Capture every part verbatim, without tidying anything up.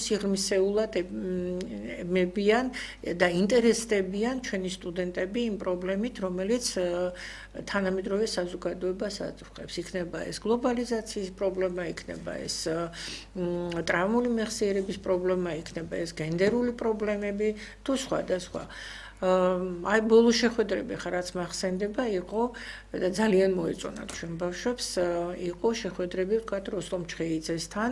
სიღრმისეულად მებიან და ინტერესდებიან ჩვენი სტუდენტები იმ პრობლემით, რომელიც თანამედროვე საზოგადოებას აწუხებს. იქნება ეს გლობალიზაციის პრობლემა, იქნება ეს ტრავმული მეხსიერების პრობლემა, იქნება ეს გენდერული პრობლემები თუ სხვა და სხვა. აი ბოლო შეხვედრები ხა რაც მახსენდება იყო და ძალიან მოეწონათ ჩვენ ბავშვებს იყო შეხვედრები ვთქვათ როსტომ ჩხეიძესთან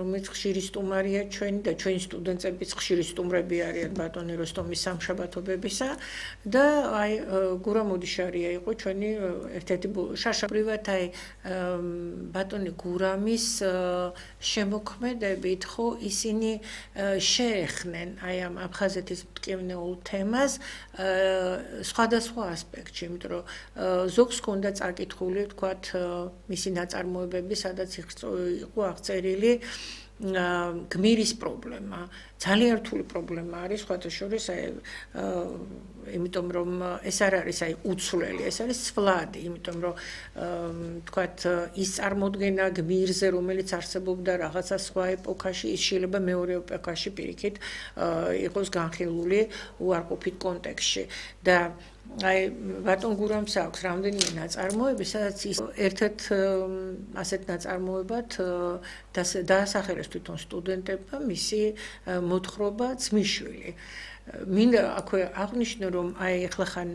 რომელიც ხშირი სტუმარია ჩვენი და ჩვენი სტუდენტებიც ხშირი სტუმრები არიან ბატონი როსტომის სამშაბათობებისა და აი გურამ მოდიშარია იყო ჩვენი ერთ-ერთი შაშაპრივად აი ბატონი გურამის შემოქმედებით ხო ისინი შეეხნენ აი ამ აფხაზეთის მტკივნეულ თემას სხვადასხვა ასპექტში, იმიტომ რომ ზოგს ჰქონდა წაკითხული, ვთქვათ, მისი ნაწარმოებები, სადაც იყო აღწერილი გმირის პრობლემა. ძალიან რთული პრობლემა არის, სხვათა შორის, აი, იმიტომ რომ ეს არ არის აი უცვლელი, ეს არის ცვლადი, იმიტომ რომ ვთქვათ, ის წარმოდგენა გმირზე, რომელიც არსებობდა რაღაცა სხვა ეპოქაში, ის შეიძლება მეორე ეპოქაში პირიქით იყოს განხილული უარყოფით კონტექსტში და აი ბატონ გურამს აქვს რამდენიმე ნაწარმოები, სადაც ის ერთ-ერთ ასეთ ნაწარმოებად დაასახელეს თვითონ სტუდენტებმა მისი მოთხრობა ძმისშვილი. მინდა აქვე აღვნიშნო, რომ აი ახლა ხან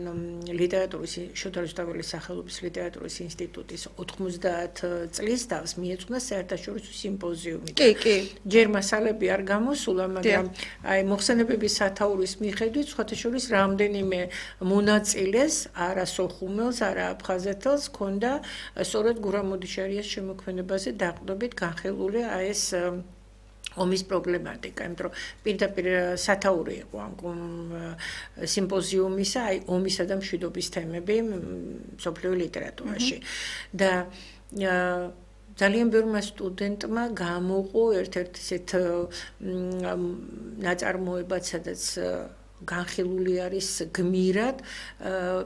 ლიტერატურის შოთა რუსთაველის სახელობის ლიტერატურის ინსტიტუტის ოთხმოცდაათ წლის თავს მიეძღვნა საერთაშორისო სიმპოზიუმი. კი, კი. ჯერ მასალები არ გამოსულა, მაგრამ აი მოხსენებების სათაურის მიხედვით სხვათა შორის რამდენიმე მონაწილეს, არა სოხუმელს, არა აფხაზეთელს ჰქონდა სწორედ გურამ მოდიშარიას შემოქმედებაზე დაყრდნობით განხილული აი ეს ომის პრობლემატიკა, იმიტომ რომ პირდაპირ სათაური იყო ამ სიმპოზიუმისა, აი ომისა და მშვიდობის თემები მსოფლიო ლიტერატურაში. და ძალიან ბევრმა სტუდენტმა გამოყო ერთ-ერთ ისეთ ნაწარმოებად, სადაც განხილული არის გმირად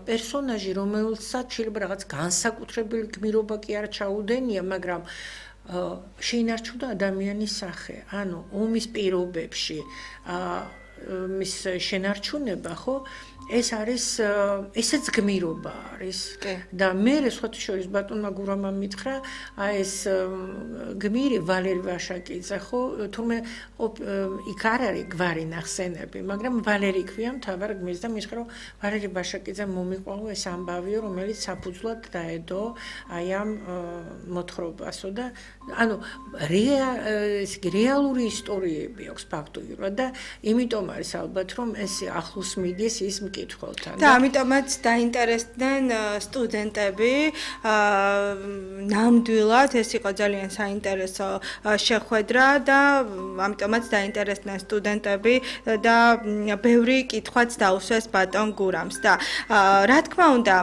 პერსონაჟი, რომელსაც შეიძლება რაღაც განსაკუთრებული გმირობა კი არ ჩაუდენია, მაგრამ შეინარჩუნდა ადამიანის სახე, ანუ ომის პირობებში მის შენარჩუნება, ხო, ეს არის ესეც გმირობა არის და მე სხვათა შორის ბატონმა გურამმა მითხრა აი ეს გმირი ვალერი ვაშაკიძე ხო თუმე იქ არ არის გვარი ნახსენები, მაგრამ ვალერი ქვია მთავარ გმირს და მითხრა რომ ვალერი ვაშაკიძე მომიყვაო ეს ამბავიო, რომელიც საფუძვლად დაედო აი ამ მოთხრობასო და ანუ რეალური ისტორიები აქვს ფაქტობრივად და იმიტომ არის ალბათ რომ ეს ახლოს მიდის ის და ამიტომაც დაინტერესდნენ სტუდენტები ნამდვილად ეს იყო ძალიან საინტერესო შეხვედრა და ამიტომაც დაინტერესდნენ სტუდენტები და ბევრი კითხვაც დაუსვეს ბატონ გურამს და რა თქმა უნდა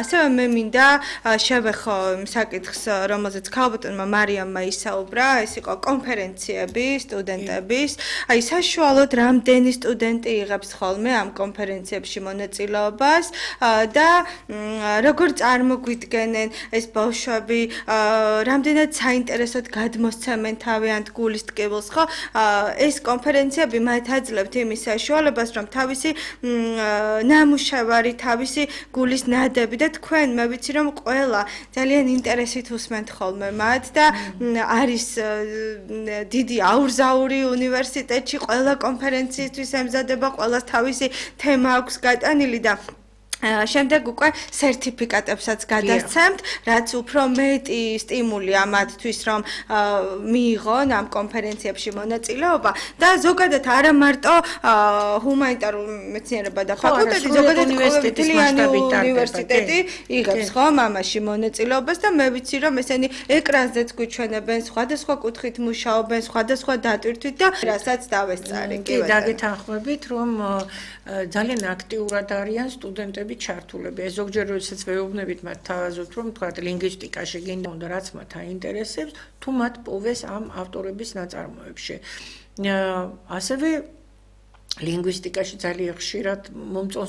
ასევე მე მინდა შევეხო საკითხს რომელზეც ქალბატონმა მარიამმა ისაუბრა ეს იყო კონფერენციები სტუდენტების აი საშუალოდ რამდენი სტუდენტი იღებს ხოლმე ამ კონფერენციებში მონაწილეობას და როგორ წარმოგვიდგენენ ეს ბავშვები რამდენად საინტერესოდ გადმოსცემენ თავიანთ გულის ტკივილს ხო ეს კონფერენციები მათ აძლევთ იმის საშუალებას რომ თავისი ნამუშევარი თავისი გულის ნადები და თქვენ მე ვიცი რომ ყველა ძალიან ინტერესით უსმენთ ხოლმე მათ და არის დიდი აურზაური უნივერსიტეტში ყველა კონფერენციისთვის ემზადება ყველას თავისი თემა აქვს გატანილი და შემდეგ უკვე სერტიფიკატებსაც გადასცემთ, რაც უფრო მეტი სტიმული ამათთვის რომ მიიღონ ამ კონფერენციებში მონაწილეობა და ზოგადად არა მარტო ჰუმანიტარულ მეცნიერებათა და ფაკულტეტი, ზოგადად უნივერსიტეტი იღებს ხომ ამაში მონაწილეობას და მე ვიცი რომ ესენი ეკრანზეც გვიჩვენებენ, სხვადასხვა კუთხით მუშაობენ, სხვადასხვა დატვირთვით და რასაც დავესწარი. კი, დაგეთანხმებით რომ ძალიან აქტიურად არიან სტუდენტები ჩართულები. ეს ზოგჯერ როდესაც ვეუბნებით მათ თავაზობთ, რომ თქვა ლინგვისტიკაში გინდა უნდა რაც მათ აინტერესებს, თუ მათ პოვეს ამ ავტორების ნაწარმოებში. ასევე ლინგვისტიკაში ძალიან ხშირად მომწონს